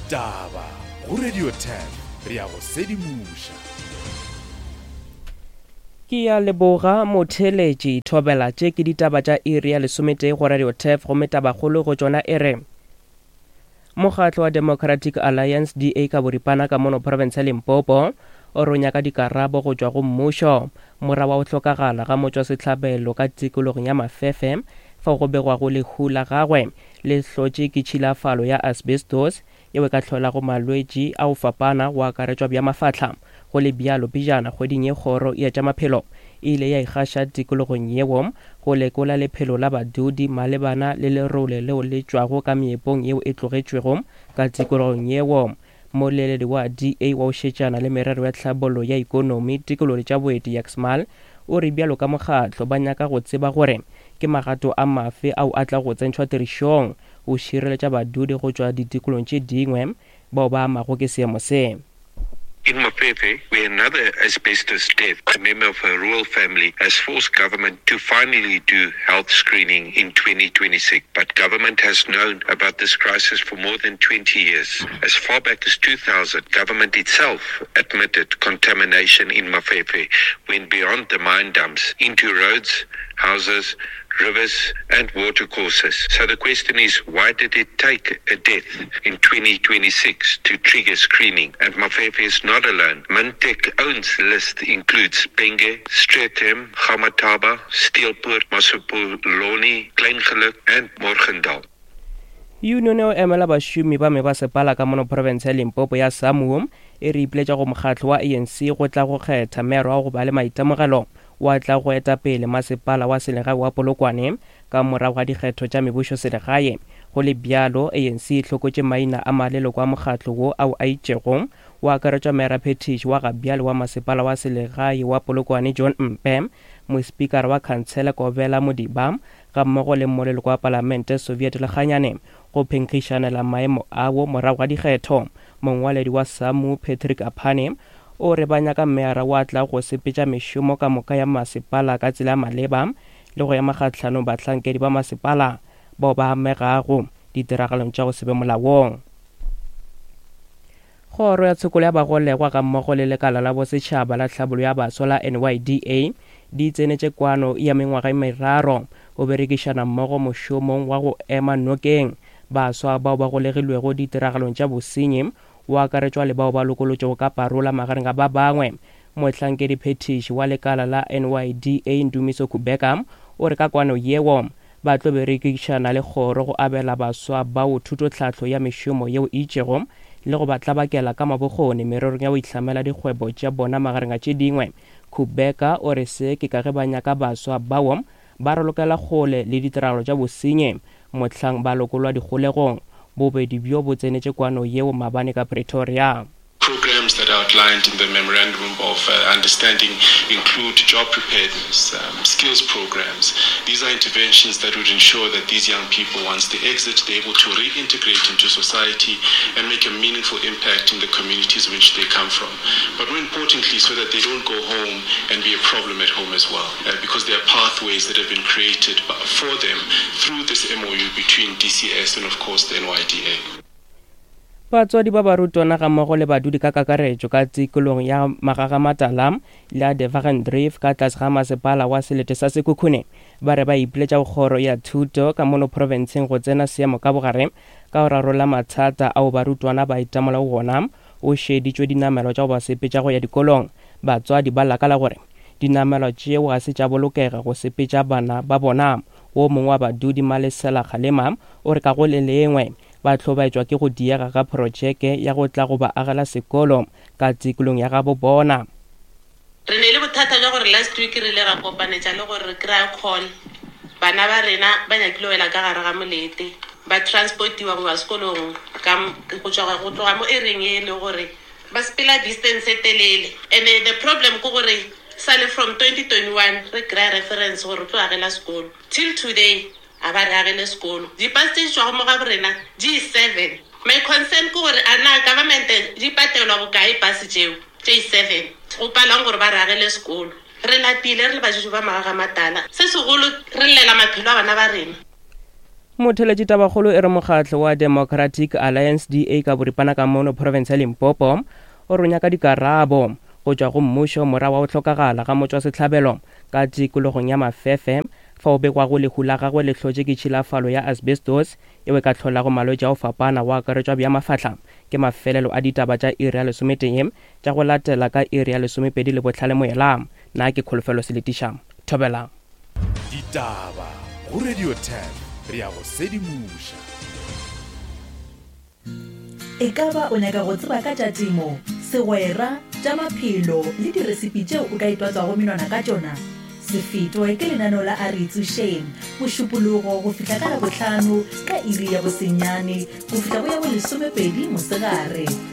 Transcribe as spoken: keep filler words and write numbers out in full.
Ditaba go Radio ten re ya go sedimoša. Ke ya leboga motheletši thobela tše ke ditaba tša iri ya lesometee go Radio Turf gomme tabakgolo go tšona e re Mokgatlo wa Democratic Alliance D A ka boripana ka mono province ya Limpopo o re o nyaka dikarabo go tšwa go mmušo morago wa go hlokagala ga motšwasehlabelo ka tikologong ya Mafefe fao go begwago lehu la gagwe le hlotše ke tšhilafalo ya asbestos yeo e ka hlolago malwetši a go fapana go akaretšwa bja mafahla. Go le bjalo pejana kgweding ye kgoro ya tša maphelo e ile ya ikgaša tikologong yeo go lekola lephelo la badudi malebana le lerole leo le tšwago ka meepong yeo e tlogetšwego ka tikologong yeo. Moleledi wa D A wa go šetšana le merero ya tlhabollo ya ikonomi tikologo le tša boeti Yaxmal o re bjalo ka mokgatlo ba nyaka go tseba gore ke magato a mafe ao a tla go tsentšhwa tirišong go šireletša badudi go tšwa ditikolong tše dingwe bao ba amago ke seemo se. In Mafefe, where another asbestos death, a member of a rural family, has forced government to finally do health screening in twenty twenty-six. But government has known about this crisis for more than twenty years. As far back as two thousand, government itself admitted contamination in Mafefe went beyond the mine dumps into roads, houses, rivers and watercourses. So the question is, why did it take a death in twenty twenty-six to trigger screening? And Mafefe is not alone. Mintek owns list includes Penge, Streatham, Gamataba, Steelpoort, Masopoloni, Kleingeluk and Morgendal. Union eo emela bašomi ba mebasepala ka mono province ya Limpopo ya SAMWU e re ipiletša go mokgatlo wa A N C go tla go kgetha mero wa go ba le maitemogelo wa tla go eta pele masepala wa selegae wa Polokwane ka morago ga dikgetho tša mebušo selegae. Go le bjalo, A N C e hlokotše maina a maleloko a mokgatlo wo ao a itšego wa akaretšwa Mera Phetiši wa gabjale wa masepala wa selegae wa Polokwane John Mpe, mospikara wa khansele Kobela Modiba ga mmogo le moleloko wa palamente Soviet Lekganyane go phenkgišanela maemo ao morago ga dikgetho. Mongwaledi wa SAMWU Patrick Aphane o re ba nyaka meara wa tla go sepetša mešomo ka moka ya masepala ka tsela ya maleba le go ema kgahlanong bahlankedi ba masepala bao ba amegago ditiragalong tša go se be molaong. Kgoro ya tshokolo ya bagolegwa ga mmogo le lekala la bosetšhaba la tlhabollo ya baswa la N Y D A di tsenetše kwano ya mengwaga e meraro go berekišana mmogo mošomong wa go ema nokeng baswa bao ba golegilwego ditiragalong tša bosenyi o akaretšwa le bao ba lokolotšwego ka parola magareng ga ba bangwe. Mohlankedi phetiši wa lekala la N Y D A Ndumiso Kubeka o re ka kwano yeo ba tlo berekišana le kgoro go abela baswa bao thutotlhahlo ya mešomo yeo e itšego le go ba tlabakela ka mabokgoni mererong ya go ihlamela dikgwebo tša bona magareng a tše dingwe. Kubeka o re se ke ka ge ba nyaka baswa bao ba ralokela kgole le ditiragalo tša bosenyi mohlang ba lokolwa dikgolegong. Bobedi bjo bo tsenetše kwano yeo maabane ka Pretoria. Programs that are outlined in the Memorandum of, uh, Understanding include job preparedness, um, skills programs. These are interventions that would ensure that these young people, once they exit, they're able to reintegrate into society and make a meaningful impact in the communities in which they come from. But more importantly, so that they don't go home and be a problem at home as well, uh, because there are pathways that have been created for them through this M O U between D C S and, of course, the N Y D A. Batswadi ba barutwana ga mmogo le badudi ka kakaretšo ka tikologong ya Magagamatala le ya Devagendrift ka tlase ga masepala wa selete sa Sekhukhune ba re ba ipiletša go kgoro ya thuto ka mono profenseng go tsena seemo ka bogare ka go rarolla mathata ao barutwana ba itemogelago gona o šeditšwe dinamelwa tša go ba sepetša go ya dikolong. Batswadi ba lakala gore dinamelwa tšeo ga se tša bolokega go sepetša bana ba bona. Wo mongwe wa badudi Malesela Kgalema o re ka go le lengwe ba hlobaetšwa ke go diega ga projeke ya go tla go ba agela sekolo ka tikolong ya gabo bona. Re ne le bothata bja gore last week re ile ra kopanetša le gore re kry-a call. Bana ba rena ba nyakile wela ka gare ga molete, ba transportiwa go ya sekolong ka m-, go tšwa, go tloga mo area e le gore ba sepela distance e telele. And the problem ke gore sale from twenty twenty-one re kry-a reference gore re tlo agela sekolo. Till today a ba re agele sekolo. Di-bus tse di tšwago mo gabo rena di seven. My concern ke gore a na government di patelwa bokae bus tšeo tše seven go palang gore ba re agele sekolo. Re lapile re le badudi ba Magagamatala. Se segolo re llela maphelo a bana ba rena. Motheletši, tabakgolo e re mokgatlo wa Democratic Alliance, D A ka boripana, ka mono province ya Limpopo o re nyaka dikarabo go tšwa go mmušo morago wa go hlokagala ga motšwasehlabelo ka tikologong ya Mafefe, fa o begwago lehu la gagwe le hlotše ke tšhilafalo ya asbestos yeo e ka hlolago malwetši a go fapana, go akaretšwa bja mafahla. Ke mafelelo a ditaba tša iri ya lesometee. Tša go latela ka iri ya lesomepedi le bohlale moela. Nna ke Kholofelo Seletiša. Thobela. Ditaba go Radio ten, re ya go sedimoša. E ka ba o nyaka go tseba ka tša temo, segwera, tša maphelo le diresipi tšeo o ka itwatswago menwana ka tšona? Se fetwe ke lenaneo la A Re Itsošeng, Mošupologo go fihla ka Labohlano ka iri ya bosenyane go fihla go ya bolesomepedi mosegare.